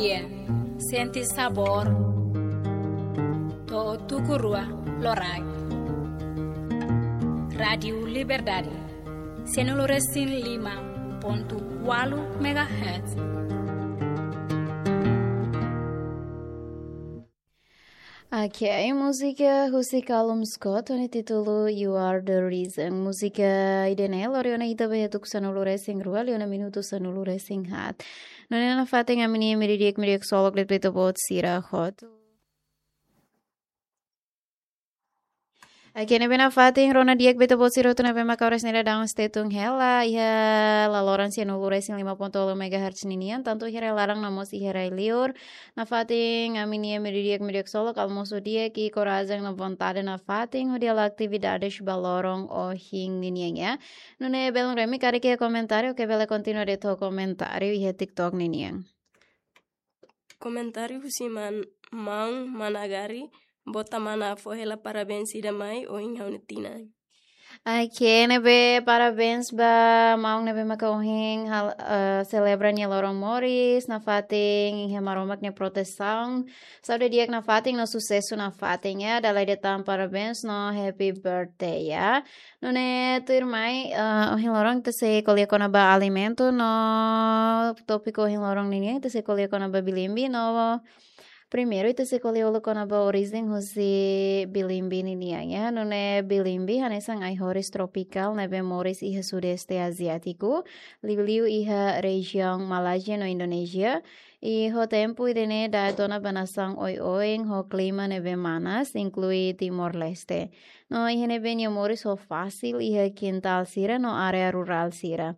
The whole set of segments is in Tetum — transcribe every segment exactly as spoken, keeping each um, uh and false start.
Sente sabór. To'o tuku rua loraik. Rádiu Liberdade, sianulu resin lima pontu ualu megahertz. Ok, múzika husi Calum Scott ho nia títulu You Are the Reason. Múzika ida-ne'e lori ona ita ba iha tuku sanulu resin rua, liu ona minutu sanulu resin haat. Nune'e nafatin ami-nia media di'ak, media solok de'it ba ita-boot sira hotu. Ok, ne'ebé nafatin rona di'ak ba ita-boot sira hotu ne'ebé maka oras ne'e daudaun hetan hela iha laloran sianulu resin lima pontu ualu megahertz ninian, tantu iha rai-laran no mós iha rai-liur. Nafatin ami-nia media di'ak, media solok, almosu di'ak, i korajen no vontade nafatin hodi halo atividades ba loron ohin ninian, ya. Nune'e belun Remi, karik iha komentáriu, ke bele kontinua de'it ho komentáriu iha TikTok ninian. Komentáriu husi man, maun Managari, bota mana fó hela parabéns ida mai ohin ha'u-nia tinan. Ok, ne'ebé parabéns ba maun ne'ebé maka ohin hal-, eh, selebra nia loron moris, nafatin iha Maromak nia protesaun, saúde di'ak nafatin no susesu nafatin, ya, dala ida tan parabéns no happy birthday, ya. Nune'e tuirmai, eh, ohin loron ita sei ko'alia kona-ba alimentu no tópiku ohin loron ninian ita sei ko'alia kona-ba bilimbi no primeiru ita sei ko'alia uluk kona-ba orijen husi bilimbi ninian, ya. Nune'e bilimbi hanesan ai-horis tropikál ne'ebé moris iha Sudeste Aziátiku, liuliu iha rejiaun Malázia no Indonézia. I ho tempu ida-ne'e da'et ona ba nasaun oioin ho klima ne'ebé manas, inklui Timor-Leste. No iha ne'ebé nia moris ho fasil iha kintál sira no área rurál sira.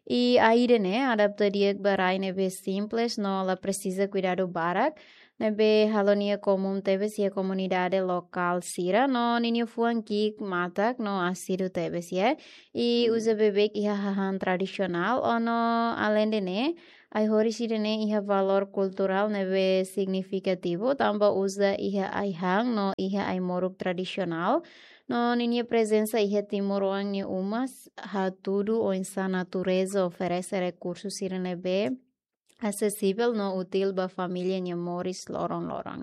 I ai ida-ne'e adapta di'ak ba rai ne'ebé simples no la presiza kuidadu barak, ne'ebé halo nia komún tebes iha komunidade lokál sira no ninia fuan ki'ik matak no asidu tebes, ya. I uza beibeik iha hahán tradisionál, no aleinde ne'e, ai-horis ida-ne'e iha valór kulturál ne'ebé signifikativu, tanba uza iha ai-han no iha ai-moruk tradisionál. No ninia prezensa iha timoroan nia uma s-, hatudu oinsá natureza oferese rekursu sira ne'ebé asesivel no útil ba família nia moris loron-loron.